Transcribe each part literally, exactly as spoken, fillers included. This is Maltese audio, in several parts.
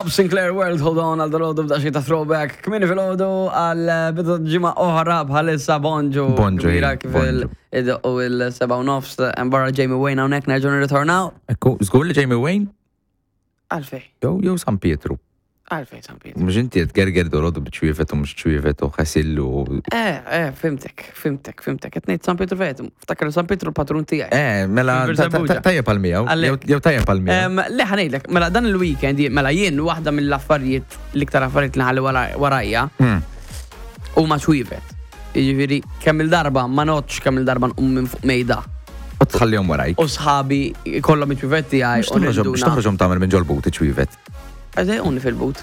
Bob Sinclair World, Hold On, għal dal-għodu b'daxi ta' throwback. Kmieni filgħodu għal bidu ġimgħa oħra bħalissa, bonġu. Bonġu, Kbira ej, kif bonġu. il- u il-seba u nofs, barra Jamie Wayne hawnhekk nerġgħu nirritornaw. Ekku, żgur li Jamie Wayne? Għalfej, Jew jew San Pietru. Għalfej San Pietru. Mhux inti qed gerger dolodu b'ċwievet u mhux ċwievet u ħasillu. Eh, eh, fhimtek, fhimtek, fhimtek. Qed ngħid San Pietru fejt, ftakar San Pietru l-patrun tiegħi. Eh, mela Fil ta- ta- tajjeb għal miegħu. Għalek. Jew tajjeb għal miegħu. Em, Le ħa ngħidlek, mela dan il-weekend, mela jien waħda mill-affarijiet, l-iktar affarijiet li ħalli wara- warajja, Hmm. huma ċwievet. Jiġifieri kemm il-darba ma notx kemm il-darba nqum minn fuq mejda. U tħallihom warajk. U sħabi kollhom iċ-ċwievet tiegħi Mhux toħroġhom mhux toħroġhom tagħmel minn ġol-but iċ-ċwievet. Għażejquni fil-but.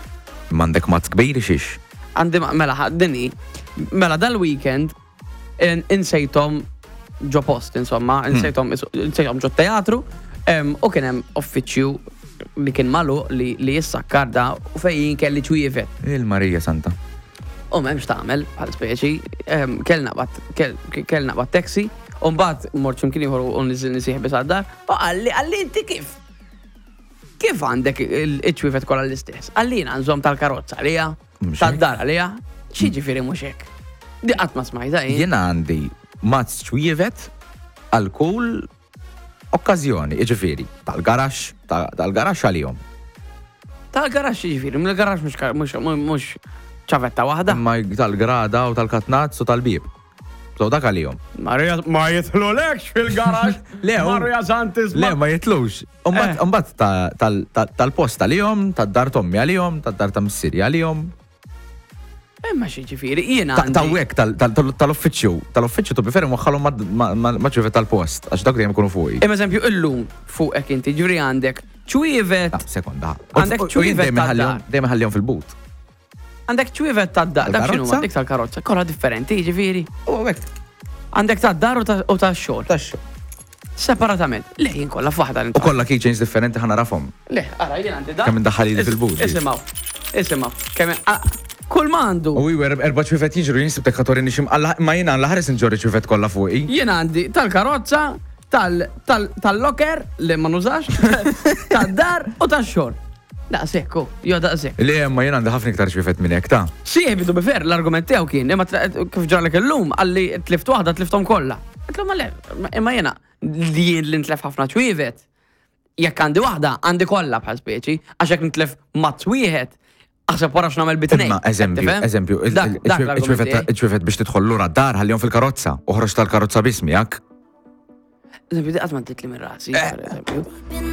M'għandek mazz kbir xiex. Għandi ma- mela ħa- dini, mela dal-weekend in- insejthom ġo post, insomma, insejthom insejthom ġo teatru, em, u kien hemm uffiċċju li kien magħluq li li jissakkar da u fejn kelli ċwievet. Il-Marija Santa. U m'hemmx tagħmel bħal speċi, em, kell naqbad kell kell naqbad taxi, u mbagħad mort x'imkien ieħor u niżilni sieħbi sad-dar, u qalli qalli inti kif? Kif għandek il-ċwievet kollha l-istess? Qalli jiena nżomm tal-karozza għalija, Mhux tad-dar għalija, x'jiġifieri mhux hekk? Di qatt ma smajta jien. Jiena għandi mazz ċwievet għal kull okkażjoni, jiġifieri, tal-garaxx, ta- tal-garaxx għalihom. Tal-garaxx jiġifieri, mill-garaxx mhux ka- mhux mhux ċavetta waħda. Imma tal-grada u tal-katnazz u tal-bib. So dak għalihom. Marija ma jidħlulekx fil-garaxx. Le, u- Marija Santis. Le, ma jitlux. Eh. Umbat tal-post għalihom, tad-dar t'ommi għalihom, tad-dar ta' missieri għalihom. Imma x'jiġifieri, jiena Ta' għandi. ta' hekk tal-uffiċċju, tal-uffiċċju to be fair waħħalhom ma' ċwievet tal-post, għax dak dejjem ikunu fuqi. Imma eżempju illum fuqek inti ġuri għandek ċwievet, Ta' sekonda. Għandek U- u jien ċwievet dejjem inħallihom- tad-dar. Dejjem ħallihom fil-but. Għandek ċwievet tad-dar, dak x'inhu Tal-karozza? dik tal-karozza, kollha differenti, jiġifieri. U hekk, Għandek tad-dar u ta- u tax-xogħol. tax Separatament. Le, jien kollha f'waħda U l kollha keychains differenti ħa narafhom. Le, ara, jien għandi da. Kemm indaħħal ili fil-but. Isimgħu, isimgħu. Kemm ah, kull ma għandu. U iwer erba' ċwievet jiġru jien sibtek ħatorini xim ma jiena l-ħares nġorri ċwievet kollha fuqi. Jien għandi tal-karozza, tal- tal- tal-locker li ma nużax, tad-dar u tax-xogħol. Daqshekk, oh, jo daqshekk. Le, ma jien għandi ħafna iktar ċwievet minn hekk ta' Sieħbi to be fair, l-argument tiegħu kien, imma tra- kif ġarlek illum, qalli tlift waħda tlifthom kollha. Għedtlu ma le, imma jiena li jien li ntlef ħafna ċwievet. Jekk għandi waħda, għandi kollha bħal speċi, għax jekk nitlef mazz wieħed, aħseb wara x'nagħmel bi tnejn. Imma eżempju, Tifhem? eżempju, il- Dak- il- dak l-argument iċ-ċwievet tiegħi. iċ-ċwievet biex tidħol lura d-dar ħallihom fil-karozza u ħroġ tal-karozza biss miegħek. Eżempju, di qatt ma titli minn rasi, Eh. per eżempju.